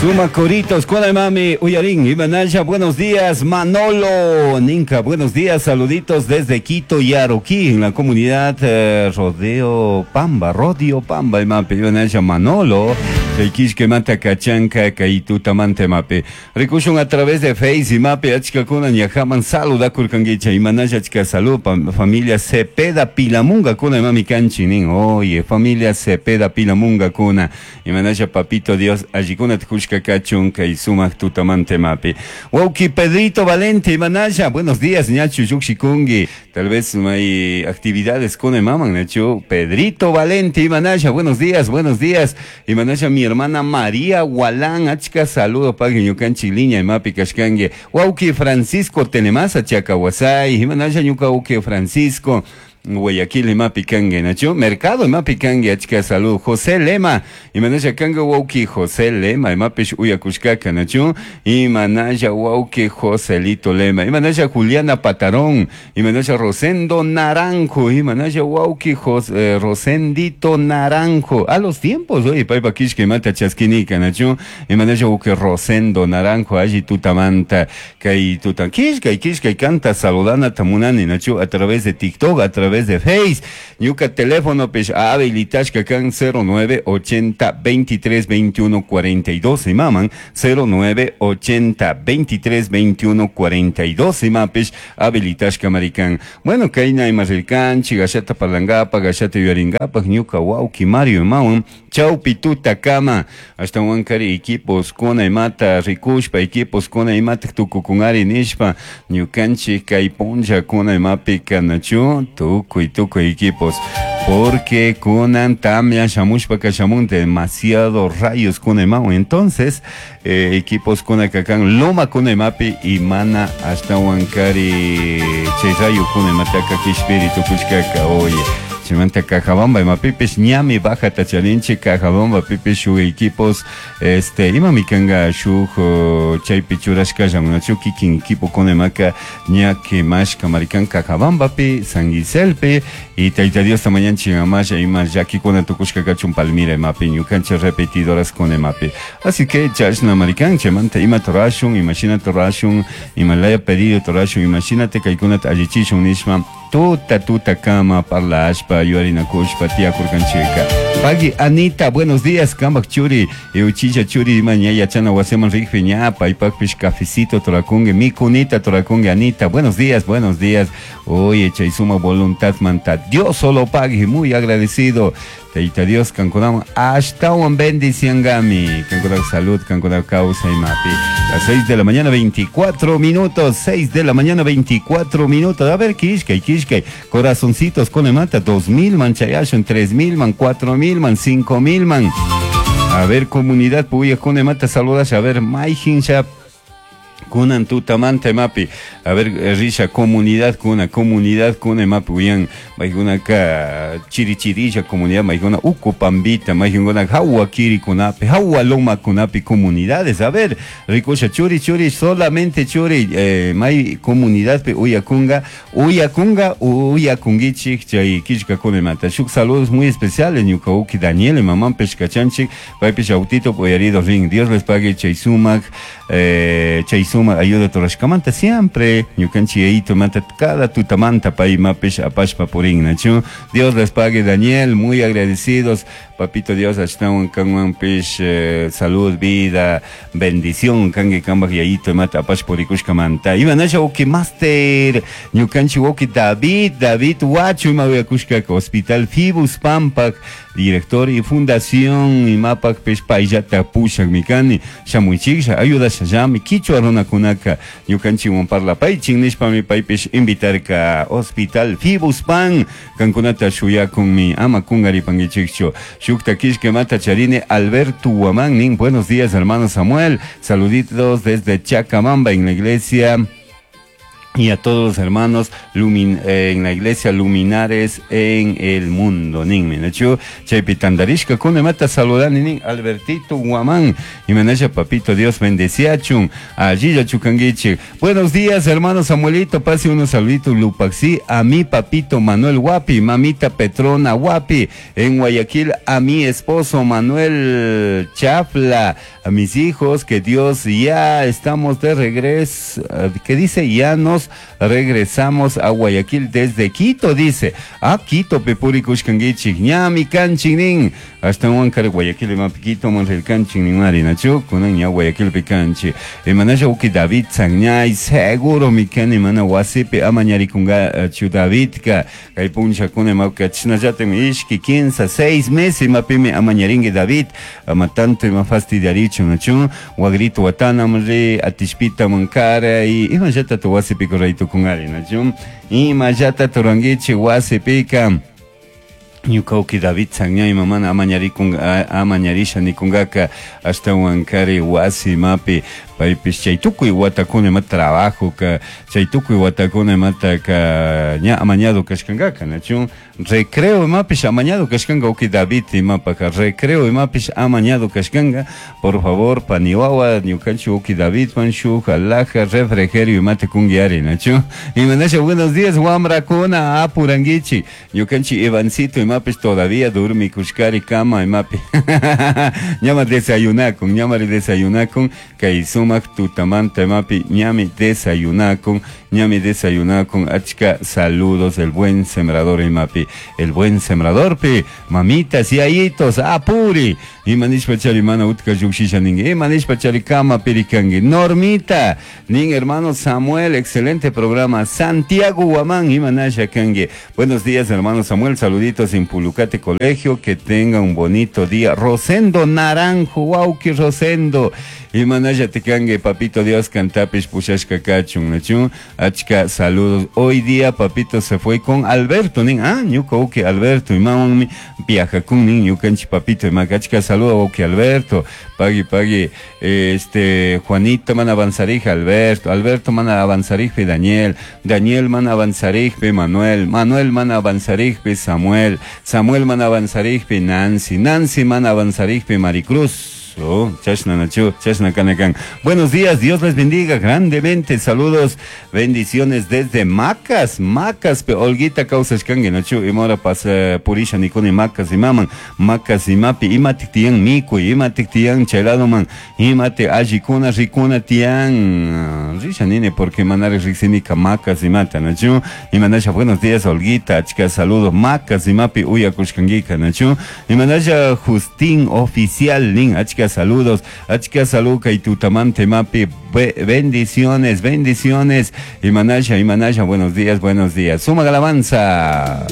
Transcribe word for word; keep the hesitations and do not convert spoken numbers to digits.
Suma coritos, mami, uyarin, Imanaya, buenos días, Manolo, Ninka, buenos días, saluditos desde Quito y Aroquí, en la comunidad eh, Rodeo Pamba, Rodio Pamba, imapi, Imanaya, Manolo, Kishke mata kachanka, kaituta mante mape. Rikushun a través de Face y mape, achkakuna ñajaman saluda kurkangicha, Imanaya achka salud, familia Cepeda Pilamunga kuna, mami kanchi, oye, familia Cepeda Pilamunga kuna, Imanaya papito Dios, allikuna tkushka kachun kay sumak tutamante mapi. Wauki Pedrito Valente, Imanaya, buenos días, ñachu yukshikungi. Tal vez hay actividades con el maman, ñachu. Pedrito Valente, Imanaya, buenos días, buenos días. Imanaya, mi hermana María Gualán, achka saludo pagui ñukanchi liña imapi kashkangi. Wauki Francisco Tenemasa, Chacahuasay, Imanaya ñuka wauki Francisco. Guayaquil imapi kangi, nachu Mercado imapi kangi, achka salud. José Lema, imanaya kanga wauki José Lema, imapish uyakushkaka, nachu imanaya wauki Joselito Lema, imanaya Juliana Patarón, imanaya Rosendo Naranjo, imanaya wauki Jos, eh, Rosendito Naranjo. A los tiempos, oye, paipa kishka imata chaskinika, nachu imanaya wauki Rosendo Naranjo, allí tutamanta, kay tutan, kishka, kishka, canta saludana tamunani, nachu a través de TikTok, a través de Face, ñuka teléfono pes habilitashka kan cero nueve ochenta veintitrés veintiuno cuarenta y dos imaman cero nueve ochenta veintitrés veintiuno cuarenta y dos imapes habilitashka marikan. Bueno, kayna imarilkan chigashata parlangapa gashata yuaringapa ñuka wauki Mario imawan chaupi tuta kama hasta wankari equipos kuna imata rikushpa equipos kuna imata tukukunari nishpa ñukanchik kay punlla kuna imapi kanachu tukuy tukuy equipos porque kunan tamya shamushpa kashamun demasiado rayos kuna imawan entonces eh, equipos kuna kakan loma kuna imapi imana hasta wankari chay rayo kuna imataka kishpiri tukushkaka oye Chimanta Cajabamba, imapipis ñami baja tacharinche Cajabamba pipis shu equipos este imami kanga shu chaypi churashka llamunachu kikin equipo con imaka ñaki mashka marikan Cajabamba pi San Giselpi y Tayta Dios tamañanchi amasha ima llakikuna tukushka kachun Palmira imapi ñukancha repetidoras con imapi así que chashna marikan chimanta ima torashun imashina torashun imalaya pedido torashun imashinate kaykunata allichishun nishma tuta tuta kama parlashpa yuarinakushpa tiakurkanchika. Pagui Anita, buenos días, kambak churi, euchicha churi ima ña yachana wasiman rikpi ña paypakpish cafecito torakungue, mi kunita torakungue Anita, buenos días, buenos días. Oye, chay suma voluntad manta, Dios solo pague, muy agradecido. Taita Dios, kankunam, ashtawan bendiciangami, kankunam salud, kankunam causa y mapi. Las seis de la mañana, veinticuatro minutos, seis de la mañana, veinticuatro minutos. A ver, kishkay, kishkay, corazoncitos con mata, dos mil man chayashun, tres mil man, cuatro mil man, cinco mil man. A ver, comunidad, puya con mata, saludas, a ver, maijin ya. Kunan tutamante mapi. A ver, risha, comunidad kuna, comunidad kuna mapi, uyan, maijuna ka chirichirilla comunidad, maijuna ukupambita, maijuna hawa kiri kunapi, hawa loma kunapi, comunidades. A ver, ricosha, churi, churi, solamente churi, eh, mai comunidad pe uyakunga, uyakunga, uyakungichik, chay kishka kune mata. Shuk saludos muy especiales, ñukauki Daniel, mamá pescachanchik, paipish autito, poyarido ring. Dios les pague, chay sumac, eh, chay sumac. Ayuda torashkamanta siempre ñukanchi yaito manta cada tutamanta pay mapish apashpa purin nachu Dios les pague Daniel, muy agradecidos papito Dios ashtawan kanwan pish eh, salud, vida, bendición kange kambaj yaito mata apash purikushkamanta imanasha uki master ñukanchi uki David David Huacho imawiakushkaka Hospital Fibus Pampak director y fundación imapak pish payllata pushak mikani shamuichiklla ayudashallami kichwa runakunaka ñukanchikwan parlapaychik nishpami paypish invitarka Hospital Fibus Pan kankunata shuyakunmi ama kunkaripankichikchu shukta kishka mata charine Alberto Guamán nin buenos días hermano Samuel saluditos desde Chacamamba en la iglesia Y a todos los hermanos lumin, eh, en la iglesia Luminares en el mundo. Ninmi, nachu chaypi tandarishka kunamata saludani nin Albertito Guamán y manasha papito Dios bendeciachun allí chukanguichi. Buenos días, hermano Samuelito, pase unos saluditos Lupaxi a mi papito Manuel Guapi, mamita Petrona Guapi en Guayaquil, a mi esposo Manuel Chafla, a mis hijos, que Dios, ya estamos de regreso, que dice, ya nos regresamos a Guayaquil desde Quito, dice. A Quito, pepuri kushkanguichik, ñami kanchik hasta Huancar, Guayaquil, imapi Quito, manril kanchik nin mari, nachu, kunan ña Guayaquil pikanchi. Imanasha uki David Sagñay, seguro mi kani mana wasipi amañarikunga chu Davidka, kay puncha kuna imapka chinallata ishki, quince, seis meses imapimi amañaringue David, ama tanto ima fastidiarichu, nachu, wagrito watanamri, atishpita mankara, y imallata tu wasipi correcto con ari, nachu, imallata turanguichi wasipika. Ñuka uki David Sagñay mamana amañarikunga amañarisha nikungaka hasta Huancari wasi mapi paypish chay tukuy watakuna ima trabajo ka chay tukuy watakuna imata ka ña amañado kashkankaka nachu recreo imapish amañado kashkanka uki David imapaka recreo imapish amañado kashkanka. Por favor, paniwawa ñukanchik uki David man shuk alhaja refrigerio imata kungi ari nachu. Imanasha buenos días wamrakuna apuranguichi ñukanchik Ivancito imapish todavía durmi kushkari kama imapi ñama desayunakun ñamari desayunakun kay sumak tutamanta imapi ñami desayunakun ñami desayunakun. Achka saludos el buen sembrador imapi el buen sembrador pi mamitas y ayitos apuri imanishpa chari mana utka llukshisha ningi imanishpa chari kama pirikangi. Normita nin hermano Samuel, excelente programa. Santiago Guamán imanasha kangi. Buenos días, hermano Samuel, saluditos en Pulucate Colegio, que tenga un bonito día. Rosendo Naranjo, wauki Rosendo imanasha tikangue papito Dios cantapish pushashka kachun nachun. Achka saludos. Hoy día papito se fue con Alberto nin, ah ñuka uki Alberto imawanmi viajakun nin ñukanchik papito imaka. Achka saludo uki Alberto, pagui pagui este Juanito mana avanzarija Alberto, Alberto mana avanzarijpi Daniel, Daniel mana avanzarijpi Manuel, Manuel mana avanzarijpi Samuel, Samuel mana avanzarijpi Nancy, Nancy mana avanzarijpi Maricruz. Oh, chashna nachu, chashna kanakan. Buenos días, Dios les bendiga grandemente. Saludos, bendiciones desde Macas, Macas, pe Olguita causashkangi nachu, imora pas purisha nikuni Macas imaman, Macas imapi, imatik tiyan mikuy, imatik tiyan cheladoman, imate allikuna rikuna tiyan. Risha nini porque manare riksinika Macas imata nachu, imanasha buenos días Olguita, achka saludos, Macas imapi uyakushkangika nachu, imanasha Justín oficial nin, achka saludos, achka salud kay tutamante mapi, bendiciones, bendiciones, imanasha, imanasha, buenos días, buenos días, suma alabanza.